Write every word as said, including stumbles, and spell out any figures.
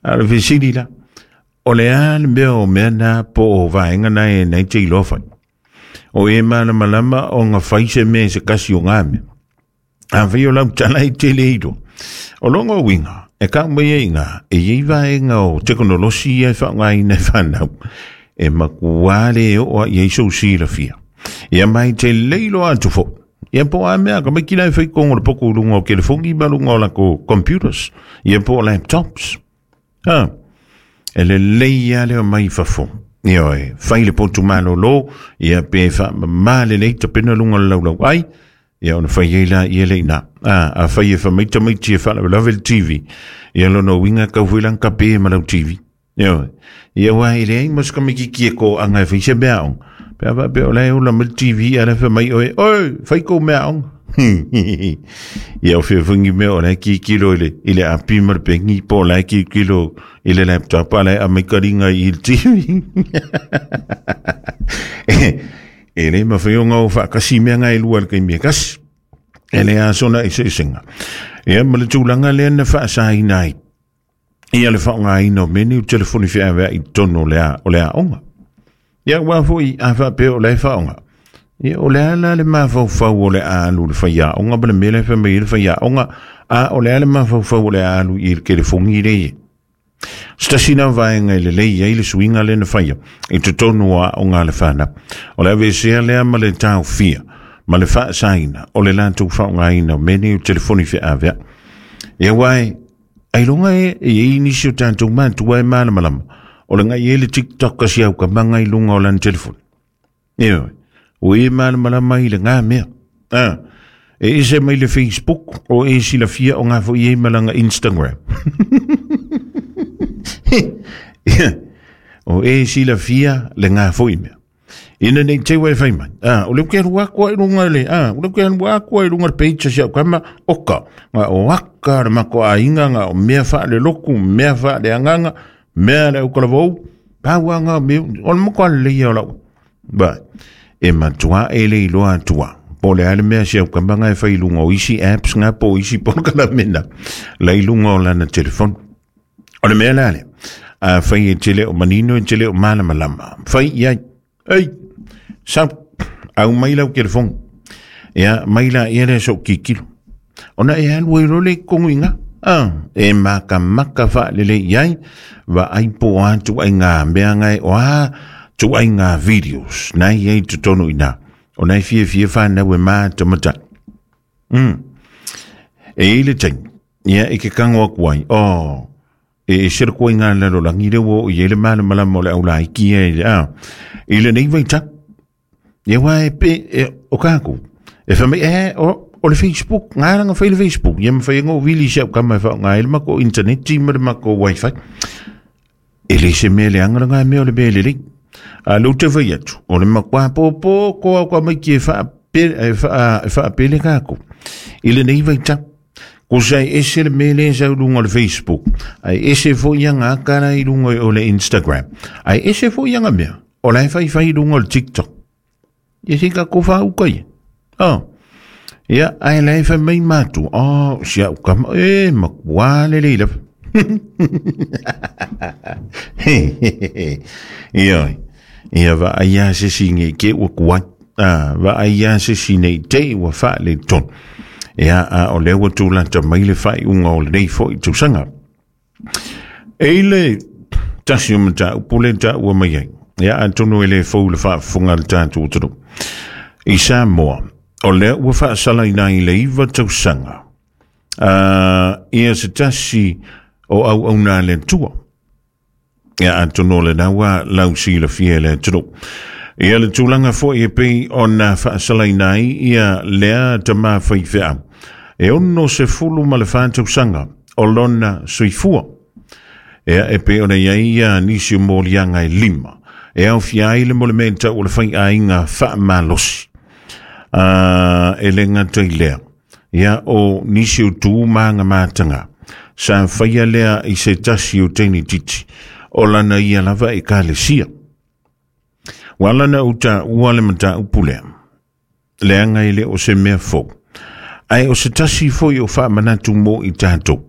A le fesili la, o le a le mea o mea na po o vaega na e nei te iloa fai. O e malamalama o ngā fai se mea se kasi o ngā mea. A fai o lau tala i te le iloa. O longa uiga, e ka mai e ngā, e iei vaega o tekonolosi e whaongaina e whanau. E makua le o a iei sou silafia. Ia mai te leilo atu fo. Ia po a mea, ka mai kila e whai kongo le poko lunga o telefongi ma lunga o lako computers. Ia po laptops. Ha. E le lei ale o mai fafo. Ia oe, fai le potu malolo, ia pe wha ma le lei tapena lunga le laulau ai, ia ona fai ei la ia le ina. A, a fai e wha mai tamaiti e wha lave le T V. Ia lono winga kau fui lang kape ma lau T V. Ia oe, ia wai le ai mas kamiki ki e ko anga e whai se mea ong. Pea wha pea o lai ola ma le T V a le wha mai oe, oe, whai kou mea ong. Ia o whia mea o lai ki kilo i le, i le api ma le pengi, po o lai ki kilo i le laptop, a lai a mai karinga i le T V. E le mawhai o ngau whaakasi mea ngai lua le kai mea kasi. E le asona i se isenga. Ia ma le tūlanga lea na whaasaina ai. Ia le whaongaina o meni o telefoni whiawea i tono o le a, o le aonga. Ia wā foi a whapea o le whaonga. Ia o le ala le mafaufau o le alu le whai aonga, ma le mea le whai mai le whai aonga, a o le ala mafaufau o le alu i le telefongi le ie. Stasina vaenga i le lei ai le suinga le na whaia, i te tonu a o ngā le whana. O le avesea lea ma le tau fia, ma le whaasaina, o le lātou whaongaina o meni o telefoni whiawea. Ia wai, ai longa e, e i nisi o tātou mātua e malamalama. O le ngai e le TikTok kasi au ka manga i lunga o lana telefoni. Ia wai, o e malamalama i le ngā mea. Ah, e ese mai le Facebook, o e silafia o ngā fo i e malanga Instagram. O e silafia le ngā fo i mea. Ina nei te wai whai mai. Ah, o leu ke rua koa i runga le, ah, o leu ke rua koa i runga le page si au kama, oka. Ngā o aka le mako a inga, ngā o mea wha le loku, mea wha le anganga, mea le ukalavou, pāua ngā mea, o le moko ale leia o lau. Ba, e matua e le iloa atua. Po le ale mea si au kama ngā e whai lunga o isi apps ngā po isi polokalamena. Lai lunga o lana telefon. O le mea lale, a whai e tele o manino e tele o malamalama. Whai iai, ei, sau, au mai lau telefon. Ia, mai la ia le so kikilo. Ona e alu e role kongu inga. Ah, e maka maka wha lele iai, wa ai po atu ai ngā mea ngai o a, tu ai ngā videos. Nai ei te tono ina. O nai fia fia whanau e māta mata. Mm. E ile tein, ia e ke kango aku ai, oh, e e sera koe ngā lalo langi reo o i ele malamalama o le au laiki e, ah, i le nei vaita. Ia wā e pe, e, o kākou. E whamai, e, o, o le Facebook, ngā ranga whai le Facebook. Ia mwhai ngō wili si au kama e whao ngā ele mako interneti ma le mako wifi. E le se mea le anga ngā mea o le mea le lei. A le ute whai atu, o le makwa pōpō ko au kwa mai ki e whaapele, e wha, e whaapele kākou. I le nei vaita. Ko sai ese le mele sa lunga o le Facebook. Ai ese fo ia ngā kara i lunga o le Instagram. Ai ese fo ia ngā mea. O lai whai whai lunga o le TikTok. Ia se ka ko wha ukai. Oh. Ia, ai lai whai mai mātu. Oh, si au kama, e, makua le leila. Ia, ia wa ai a se singe ke ua kuai. Ah, wa ai a se sine te ua wha le ton. Ia, a o lea ua tūlata mai le whai unga o le nei fo i tūsanga. E le tasi o mata upule ta ua mai ai. Ia, a tono e le fau le whaafunga le tātou tonu. I Samoa, o lea ua whaasala ina i le iwa tausanga. Uh, ia se tasi o au au nā le tua. Ia, a tono le naua lau sila fia le tonu. Ia le tūlanga fo i e pei o nā whaasala ina i ia lea tama whai whea. E ono se fulu ma le whātausanga o lona suifua. Ia e pei ona ia ia nisi o mōlianga e lima. E au fia ai le mole mea o le whai a inga whaamalosi. Uh, e le ngata i lea. Ia o nisi o tū maanga mātanga. Sa whaia lea i se tasi o teini titi. O lana ia lava e kalesia. Walana uta ua le mata upulea. Leanga i le o se mea fou. Ai o se tasi foi o whaamanatu mō i tātou.